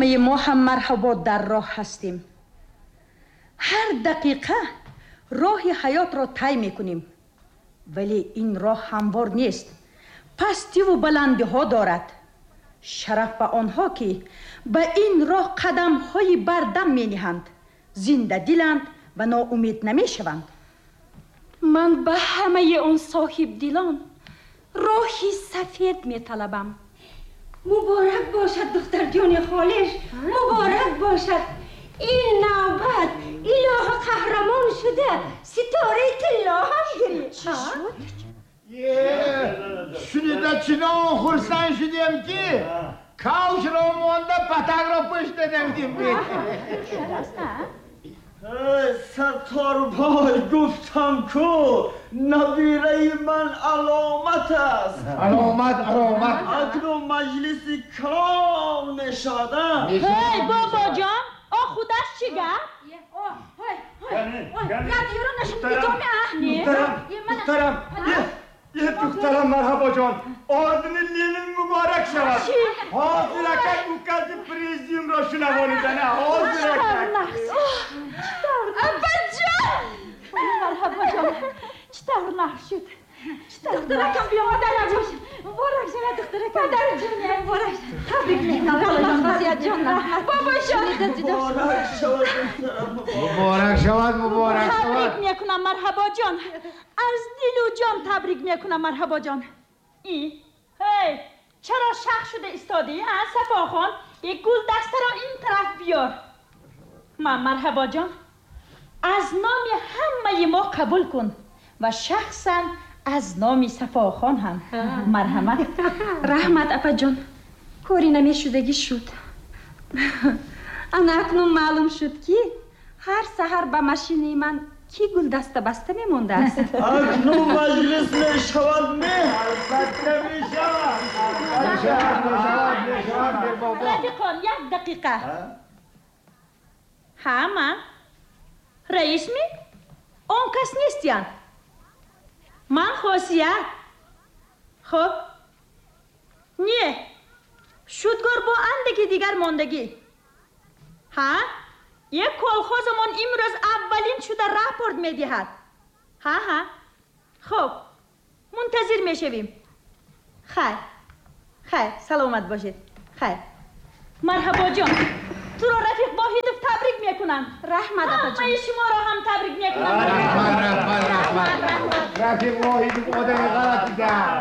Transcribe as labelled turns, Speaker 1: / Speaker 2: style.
Speaker 1: Ҳамаи мо ҳам марҳабо дар роҳ ҳастем. Ҳар дақиқа роҳи ҳаётро тай мекунем, вале ин роҳ ҳамвор нест, пастиву баландиҳо дорад. Шараф ба онҳо, ки ба ин роҳ қадамҳои бардам мениҳанд, зиндадиланд ва ноумед намешаванд.
Speaker 2: Ман ба ҳамаи он соҳибдилон роҳи сафед металабам.
Speaker 3: Муборак бошад, духтарҷони холиш, муборак бошад. Ин навбат илоҳа қаҳрамон шуда, ситораи тилло ҳам гирифт.
Speaker 2: Чӣ шуд?
Speaker 4: Шунида чунон хурсанд шудем, ки кавшро монда, патакро пушт дадем.
Speaker 5: Сатторбой, гуфтам ку, набираи ман аломат аст.
Speaker 4: Аломат, аломат.
Speaker 5: Акнун маҷлиси калон мешавад.
Speaker 1: Ҳей, бобоҷон, о худаш чӣ гап?
Speaker 5: Духтарам, е, духтарам, марҳабоҷон, ордени Ленин муборак шавад. Ҳозир акак укази президиумро шунавонидана, ҳозир акак.
Speaker 1: Апаҷон!
Speaker 2: Марҳабоҷон, чӣ тавр нағз шуд? Духтаракам биёмадарак бош. Муборак шавад, духтаракам. Падарҷоням, муборак. Табрик мекунам. Хосиятҷон, раҳмат.
Speaker 1: Бобоҷон!
Speaker 5: Муборак шавад, духтарам.
Speaker 4: Муборак шавад, муборак шавад.
Speaker 1: Табрик мекунам, марҳабоҷон. Аз дилу ҷон табрик мекунам, марҳабоҷон. И ҳей, чаро шах шуда истодӣ, а, Сафохон? Як гулдастаро ин тараф биёр. Ман, марҳабоҷон, аз номи ҳамаи мо қабул кун ва шахсан аз номи Сафохон ҳам. Марҳамат.
Speaker 2: Раҳмат, апаҷон. Кори намешудагӣ шуд. Ана акнун маълум шуд, ки ҳар саҳар ба машинаи ман кӣ гулдаста баста мемондааст.
Speaker 5: Акнун маҷлис мешавад, ме?
Speaker 4: Албатта, мешавад, мешавад, мешавад, мешавад, бобо.
Speaker 1: Рафиқон, як дақиқа. Ҳа, ман раисми? Он кас нестиян. Ман Хосият. Хуб, не, шудгор бо андаки дигар мондагӣ. Ҳа, як колхозамон имрӯз аввалин шуда рапорт медиҳад. Ҳа, ҳа, хуб, мунтазир мешавем. Хайр, хайр, саломат бошед, хайр. Марҳабоҷон, туро рафиқ Воҳидов табрик мекунам.
Speaker 2: Раҳмат, апаҷон.
Speaker 1: Ҳамаи шуморо ҳам табрик мекунам.
Speaker 4: Раҳмат, раҳмат, раҳмат. Рафиқ Воҳидов одами ғалатида.